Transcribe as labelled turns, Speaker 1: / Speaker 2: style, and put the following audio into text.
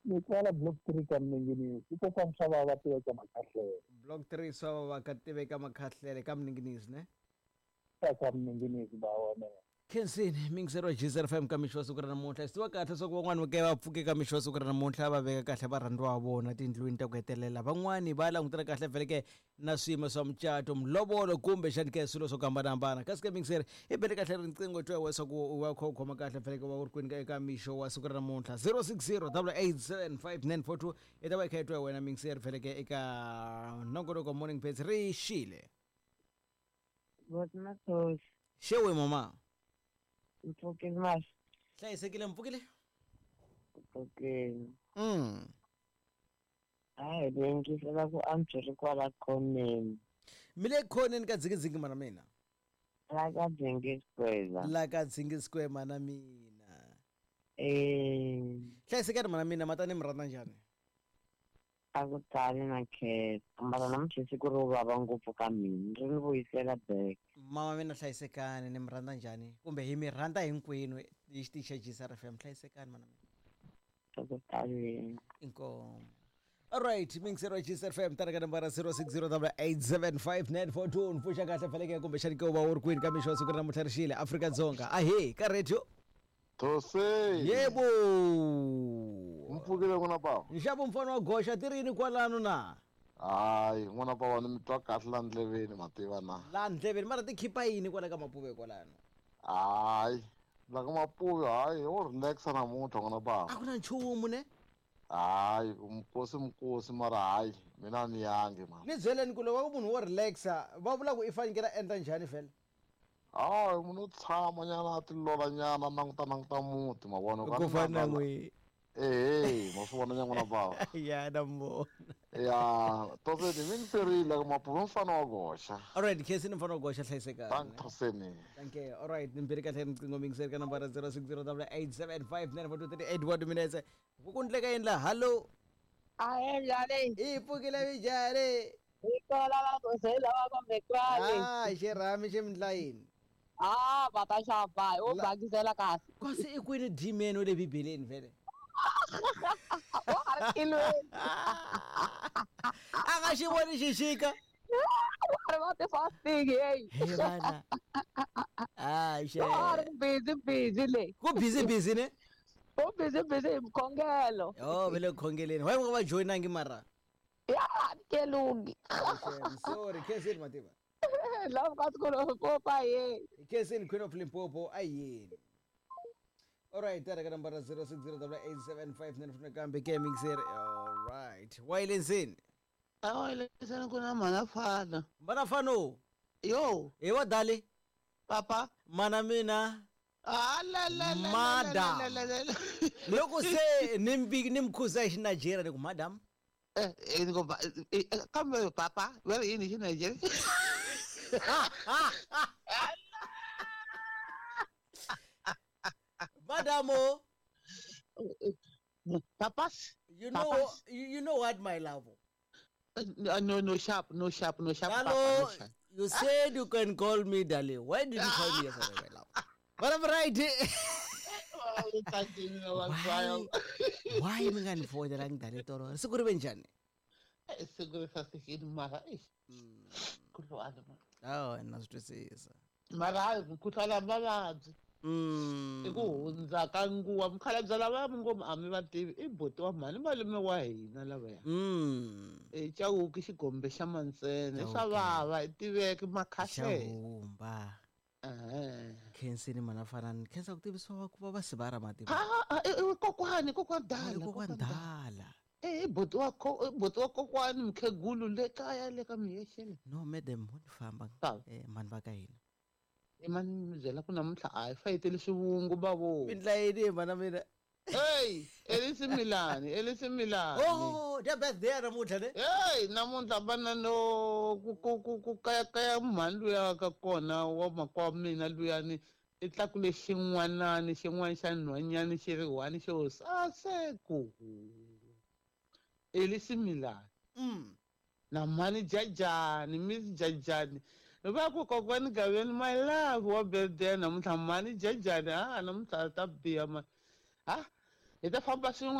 Speaker 1: Ni kwala block 3 ka Mninginisi. I kokwani swa va va tiveka Makhahlele.
Speaker 2: Block 3 swa va va ka tiveka Makhahlele ka Mninginisi ne?
Speaker 1: Ka Mninginisi ba wa mina.
Speaker 2: Khensini mingiseri wa GZR FM ka mixo wa siku ra namuntlha. Swi tiva kahle swa ku van'wani va ke va pfuke ka mixo wa siku ra namuntlha va veka kahle varhandziwa va vona tindlwini ta ku hetelela. Van'wani va langutela kahle vhele ke na swiyimo swa mucato, mulovolo kumbe xani ke swilo swo ku hambanahambana. Kasi ke mingiseri i bele kahle riqingho twa wa swa ku u va u kha u khoma kahle vhele ke wa u ri kwini eka mixo wa siku ra namuntlha. 060 887 5942 i ta va i kha i twa wena mingiseri vhele ke eka nongonoko Morning Bits ri xile.
Speaker 3: Boti Mathosi.
Speaker 2: Xewe mama.
Speaker 3: Mpfukile mahle.
Speaker 2: Hlayisekile mpfukile?
Speaker 3: Mpfukile. Hayi ni yingisela ku antswa ri kwala khoneni.
Speaker 2: Mi le khoneni ka dzingidzingi mana mina.
Speaker 3: La ka Dzingi Square.
Speaker 2: La ka Dzingi Square mana mina.
Speaker 3: Eh.
Speaker 2: Hlayisekani mana mina matani mi rhandza njhani?
Speaker 3: A ku tali na khetsa mara namuntlha siku ro vava ngopfu ka mina ri ni vuyisela back.
Speaker 2: Mama mina hlayisekani ni mi rhandza njhani kumbe hi mi rhandza hinkwenu hi xitichi xa GCR FM hlayisekani mana mina.
Speaker 3: A ku tali.
Speaker 2: Inkomu. Alright, mingisero wa GCR FM tana ka nambara 0608875942 ni pfuxa kahle faneke kumbe xani ke u va u ri kwini ka mixo wa siku ra namuntlha ri xile Afrika-Dzonga ahee ka radio.
Speaker 4: Those.
Speaker 2: Yebo.
Speaker 4: Mpfukile n'wana bava.
Speaker 2: Nxavo mfana wa goxa ti ri yini kwalano na?
Speaker 4: Hayi n'wana bava ni mi twa kahle la ndleveni mativa na.
Speaker 2: La ndleveni mara ti khipa yini kwala ka mapuve kwalano?
Speaker 4: Hayi la ka mapuve hayi ho relaxa namuntlha n'wana bava.
Speaker 2: A ku na nchumu ne?
Speaker 4: Hayi mkosi mkosi mara hayi mina ni yangi mara.
Speaker 2: Ni byeleni ku loko munhu wo relaxa va vula ku i fanekele a endla njhani vhele?
Speaker 4: Hayi munhu u tshama nyana a tilola nyana languta languta muti ma vona
Speaker 2: ku fana na n'wi
Speaker 4: ehe ma swi vona nyana bava
Speaker 2: ya na mbona
Speaker 4: ya toseni mi ngiserile ka mapuve mfana wa goxa
Speaker 2: alright khesi ni mfana wa goxa hlayisekani
Speaker 4: thank toseni
Speaker 2: thank you alright ni mbirhi kahle riqingho mi ngiseri ka nambara 0608875942 38 minutes ku ndleka yini la hallo
Speaker 5: A endla leyi.
Speaker 2: I pfukile mijhani.
Speaker 5: Hi kola va ku se lava kumbe kwale.
Speaker 2: Ah, xirhami xi mi ndla yini?
Speaker 5: Ah, va ta xava, u bakisela kahle.
Speaker 2: Kasi i kwini demon wa le Bibeleni vhele?
Speaker 5: Wa ha ri tilweni.
Speaker 2: A nga xi voni xixika.
Speaker 5: Wa ha ri va ti-fasting hey.
Speaker 2: He vana. Ah, xe.
Speaker 5: Wa ha ri busy busy le.
Speaker 2: Ku busy busy ne?
Speaker 5: U busy busy hi mikhongelo.
Speaker 2: Oh, ve le khongeleni. Why va joinangi mara?
Speaker 5: Ya, kelungi.
Speaker 2: Sorry, Khensini Mativa.
Speaker 5: Love ka school of Popa ye.
Speaker 2: Khensini Queen of Limpopo ayini. Alright, tara ka nambara 06088759 kambe ke mixer. Alright. Wayilensini.
Speaker 6: Awayilensini kuna manafana.
Speaker 2: Manafano.
Speaker 6: Yo.
Speaker 2: Hi wa dali.
Speaker 6: Papa.
Speaker 2: Mana mina.
Speaker 6: Ah la la la.
Speaker 2: Madam. Loko se ni mkhuza hi Nigeria ni ku madam.
Speaker 6: Kambe papa, where yini hi Nigeria?
Speaker 2: Madamo.
Speaker 6: Papas.
Speaker 2: You know,
Speaker 6: Papas.
Speaker 2: you know what, my love?
Speaker 6: No, no sharp, no sharp, no sharp.
Speaker 2: Hello,
Speaker 6: Papa, no sharp.
Speaker 2: You said you can call me Dali. Why did you call me yesterday, my love? But I'm right. Why mi nga ni fonelangi Dali tolo? Siku ri ve njhani?
Speaker 6: Siku ri sasekile mara eish. Mkhuhlwana mara.
Speaker 2: Oh, na swi twisisa.
Speaker 6: Mara hayi mkhuhlwana mavabyi. I ku hundza ka nguva mukhalabye lava ngoma a mi va tivi i buti wa mhani malume wa hina lavaya. I Chauke xigombe xa Mantsene swa vava i tiveki makhahlele.
Speaker 2: Xahumba. Khensini mana fana ni khensa ku tivisiwa ku va va sivara mativa.
Speaker 6: I kokwani kokwani dala
Speaker 2: kokwani dala.
Speaker 6: I buti wa buti wa kokwani mkhegulu le kaya le ka miyexeni.
Speaker 2: No madam mo ni famba mhani va ka hina.
Speaker 6: I mani mi byela ku namuntlha a hi fayeteli swivungu bavo.
Speaker 2: Mi ndla yini mhana mina?
Speaker 6: Hey, Elisimilani, Elisimilani.
Speaker 2: Oh, the birthday namuntlha ne?
Speaker 6: Hey, namuntlha vana no ku kaya kaya mhani luya ka kona wa makwa mina luyani i tlakule xin'wanani xin'wana xa nhwanyani xi ri one xo saseko. Elisimilani. Na mhani jajani, Miss Jajani. Va ku kokwani Gaveni my love wa birthday namuntlha mhani jajani namuntlha ta biha ma. Ha? Hi ta famba swin'wana.